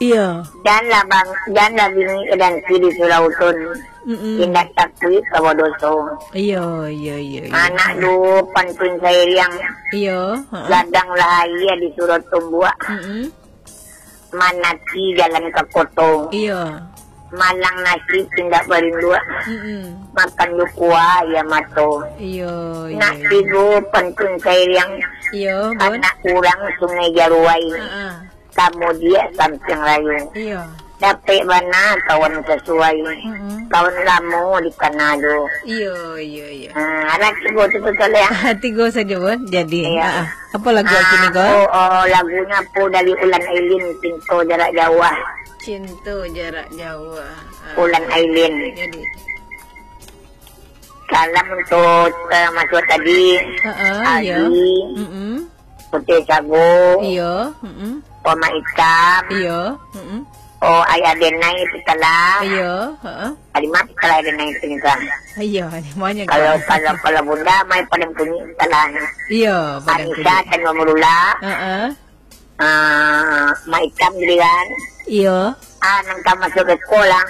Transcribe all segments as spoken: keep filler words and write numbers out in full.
Iyo. Janlah bang, janlah bingik ka dansi di surau tun. Mm-mm. Indak takuik ka badoso. Iyo, iyo, iyo, iyo. Anak duo pantun sairiang. Iyo, heeh. Gadang lah aia di surau tumbuak. Mm-mm. Manati jalan ka koto. Iyo. Malang nasib indak barinduak. Mm-mm. Makan jo kuah aia mato. Iyo, iyo, nak iyo. Tigo pantun sairiang. Iyo, Bun. Anak urang Sungai Jaruai. Heeh. Kamudiak Sampiang Rayu. Iyo. Dapek bana kawan sasuai. Mm-mm. Kawan lamo dikana jo. Iyo, iyo, iyo. Ha, alah tigo tu, tu, Saleh, ah. Tigo sajo, Bun. Jadi, iya. Ha, ha. Apa lagu, ah, kini ko? Oh, oh, lagunyo apo dari Ulan Ailin, Cinto Jarak Jauh. Cinto Jarak Jauh. Ah. Ulan Ailin. Jadi. Salam untuk, eh, Mas Suat tadi. Ha, ha, iya. Aldi. Mm-mm. Putih Sago. Iya, mm-mm. Oma Itam. Iya, mm-mm. Oh, Ayah Denai Pitala. Iya, heeh. Halimah Pitala, Ayah Denai Pitala. Iya, Halimahnya. Kalau, kalau, kalau Bunda, Mai Padang Punyi Pitala. Iya, Padang Punyi. Anisa Tanjung Merula. Heeh. Ah, Mak Itam Giliran. Iyo. Ah, nan ka masuk ka sekolah.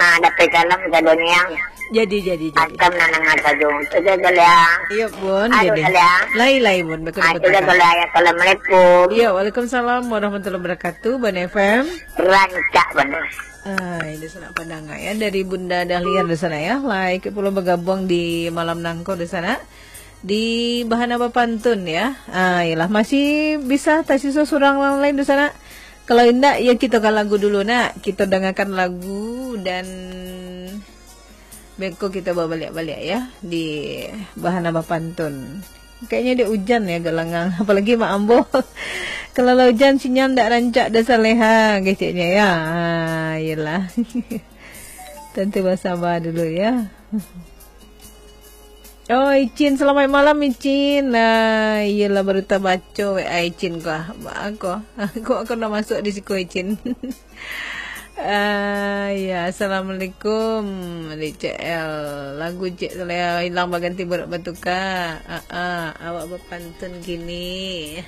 Ah, dapek salam sadonyo. Jadi, jadi, jadi. Macam nan nangah sajo. Itu sajo lah. Iyo, Bun, aduh, jadi. Salah. Lai, lai, Bun. Betul, ah, betul, itu sajo lah. Assalamualaikum. Iyo, waalaikumsalam warahmatullahi wabarakatuh, Bun F M. Rancak bana. Ah, ini sanak pandanga, ya, dari Bunda Dahlia di sana, ya. Lai, pulo bagabuang di malam nangko di sana. Di Bahana Bapantun, ya. Ah, iyolah, masih bisa tasiso surang nan lain di sana. Kalau indak, ya, kito ka lagu dulu, nak. Kito dangakan lagu dan beko kito babaliak-baliak, ya, di Bahana Bapantun. Kayaknya dia ujan, ya, agak langang. Apalagi Mak Ambo. Kalau lah ujan, sinyal ndak rancak dah, Saleha, keceknya, ya. Ah, iyolah. Tante basaba dulu, ya. Oh, Icin, selamat malam, Icin. Nah, iyolah, baru tabaco W A Icin ko. Ba ko. Ko, ko nak masuk di siko, Icin. Ah, ya, assalamualaikum, Adik C L. Lagu Cik Saleh hilang baganti burak batuka. Ah, ah, awak bapantun kini.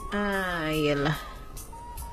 Ah, iyolah.